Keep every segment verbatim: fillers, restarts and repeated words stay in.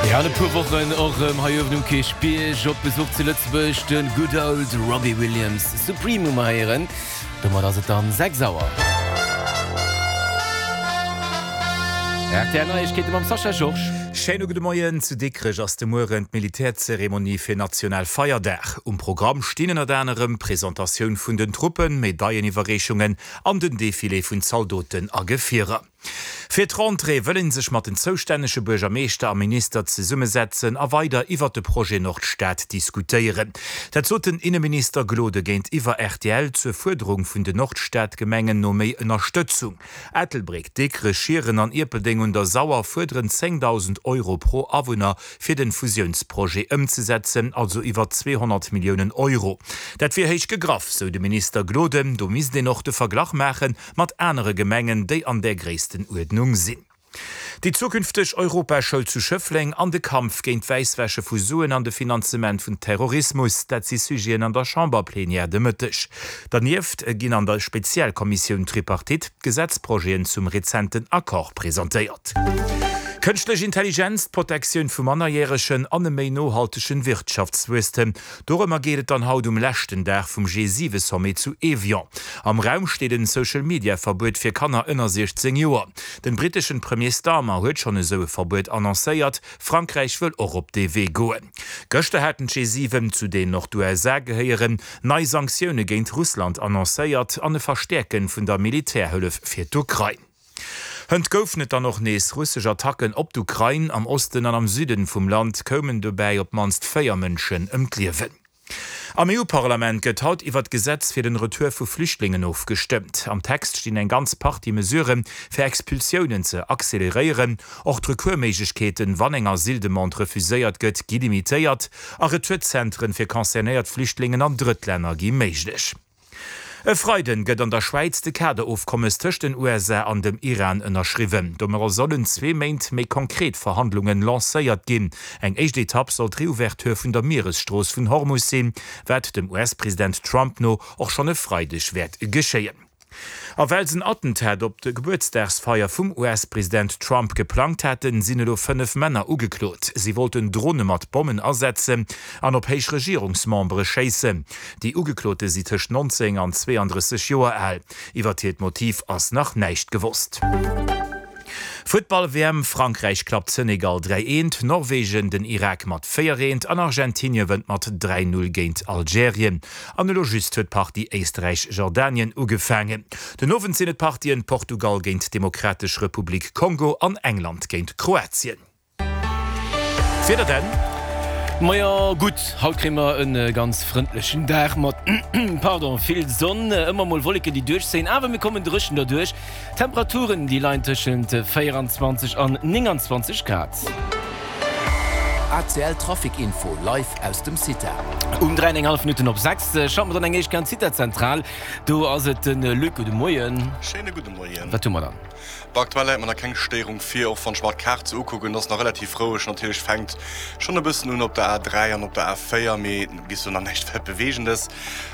Ja, an e puer Wochen och erëm hei uewen um Kierchbierg op Besuch zu Lëtzebuerg, de good old Robbie Williams. Supreme hu mer héieren. Domat ass et dann sechs Auer. Rtl Neiegkeete mam Sascha Georges. Schéine gudde Moien. Zu Dikrech ass de Mueren d'Militärzeremonie fir Nationalfeierdag. Um Programm stinn ënnert anerem d'Presentatioun vun den Truppen, Medailleniwwerreechungen an den Defilé vun Zaldoten a Gefierer. Fir d'Rentrée wëll een sech mat den zoustännege Buergermeeschter a Minister zesummesetzen a weider iwwert de Projet Nordstad diskutéieren. Dat sot den Inneminister Gloden géintiwwer rtl zur Fuerderung vun den Nordstad-Gemengen no méi Ënnerstëtzung. Ettelbréck, Dikrech, Schieren an Ierpeldeng un der Sauer fuerderen zéngdausend Euro pro Awunner fir den Fusiounsprojet ëmzesetzen, also iwwer zweehonnert Milliounen Euro. Dat wier héich gegraff, sou de Minister Gloden. Do misst een och de Verglach maache mat anere Gemengen, déi an där Gréisstenuerdnung sinn. Déi zukünfteg Europaschoul zu Schëffleng an de Kampf géint d'Wäisswäsche vu Suen an de Finanzement vun Terrorismus, dat si Sujeten an der Chamberplenière de Mëtteg. Dernieft ginn an der Spezialkommissioun Tripartite d'Gesetzprojeten zum rezenten Accord presentéiert. Kënschtlech Intelligenz, d'Protektioun vu Mannerjäregen an e méi nohaltegen Wirtschaftswuesstem, dorëmmer geet et dann haut um leschten Dag vum G siwe Sommet zu Evian. Am Raum steet en Social Media Verbuet fir Kanner ënner siechzéng Joer. Den briteschen Premier Starmer huet schonn esou e Verbuet annoncéiert, Frankräich wëll och op dee Wee goen. Gëschter haten d'G siwen, zu deenen och d'USA gehéieren, nei Sanktioune géint Russland annoncéiert an e Verstäerken vun der Militärhëllef fir d'Ukrain. Hënt goufen et dann och nees russesch Attacken op d'Ukrain. Am Osten an am Süden vum Land koumen dobäi op d'mannst véier Mënschen ëm d'Liewen. Am E U-Parlament gëtt haut iwwer d'Gesetz fir den Retour vu Flüchtlingen ofgestëmmt. Am Text stinn eng ganz Partie Mesuren, fir Expulsiounen ze acceleréieren. Och d'Recoursméiglechkeeten, wann eng Asyldemande refuséiert gëtt, gi limitéiert a Retourzentren fir concernéiert Flüchtlingen an Drëttlänner gi méiglech. E Freiden gëtt an der Schwäiz de Kaderofkommes tëscht den U S A an dem Iran ënnerschriwwen. Domadder sollen zwee Méint méi konkret Verhandlungen lancéiert ginn. Eng éischt Etapp soll d'Reouverture vun der Mieresstrooss vun Hormus sinn, wat dem U S-President Trump no och schonn e Freideg wäert geschéien. A well se en Attentat op de Gebuertsdagsfeier vum U S-President Trump geplangt haten, sinn elo fënnef Männer ugeklot. Si wollten Drone mat Bommen asetzen an op héich Regierungsmembere schéissen. Déi Ugeklote si tëscht nonzéng an zweeandrësseg Joer al. Iwwert hiert Motiv ass nach näischt gewosst. Futtball-W M, Frankräich klappt Senegal dräi eent, Norwegen den Irak mat véier eent an Argentinie wënnt mat dräi null géint Algerien. An elo just huet d'Partie Éisträich-Jordanien ugefaangen. Den Owend sinn et d'Partien Portugal géint d'Demokratesch Republik Kongo an England géint Kroatien. D'Wieder denn? Majo gutt, haut kréie mer e ganz frëndlechen Dag mat, pardon, vill Sonn, ëmmer mol Wolleken déi duerchzéien, awer mir kommen dréchen derduerch. D'Temperaturen déi leien tëschent véieranzwanzeg an nénganzwanzeg Grad. A C L Trafic Info live aus dem CITA. Um dräi an eng hallef Minutten op sechs schalte mer dann eng éischt Kéier an d'CITA-Zentral. Do ass et de Luc. Gudde Moien. Schéine gudde Moien. Wat hu mer dann? Bon, aktuell läit mer nach keng Stéierung vir, och wann ech mer d'Kaart sou ukucken, ass nach relativ roueg. Natierlech fänkt schonn e bëssen un op der A dräi an op der A véier, mee bis elo nach näischt Weltbeweegendes.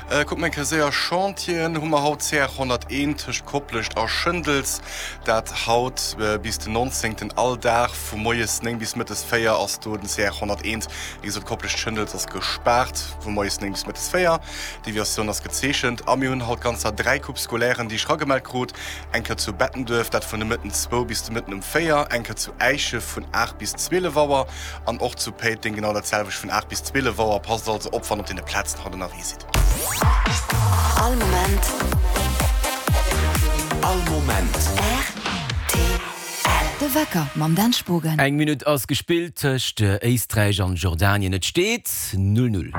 Kucke mer eng Kéier séier Chantieren hu mer haut, C R honnerteent tëscht Koplescht a Schëndels, dat haut bis den nonzéngten all Dag vu moies néng bis mëttes véier ass do den C R honnerteent. Wéi gesot, Koplescht-Schëndels ass gespaart vu moies néng bis mëttes véier, Deviatioun ass gezeechent. A mir hunn haut ganzer dräi Coupes scolairen, déi ech ragemellt krut. Eng Kéier zu Bettenduerf, dat vun de Mëtten zwou bis de Mëtten um véier, eng Kéier zu Äische vun aacht bis zwielef Auer an och zu Péiteng genau dat selwecht vun aacht bis zwielef Auer. Passt also op, wann op deene Plazen haut ënnerwee sidd. All Moment. All Moment. R T L. De Wecker mam Dan Spogen. Eng Minutt ass gespillt tëscht Éisträich an Jordanien. Et steet null null.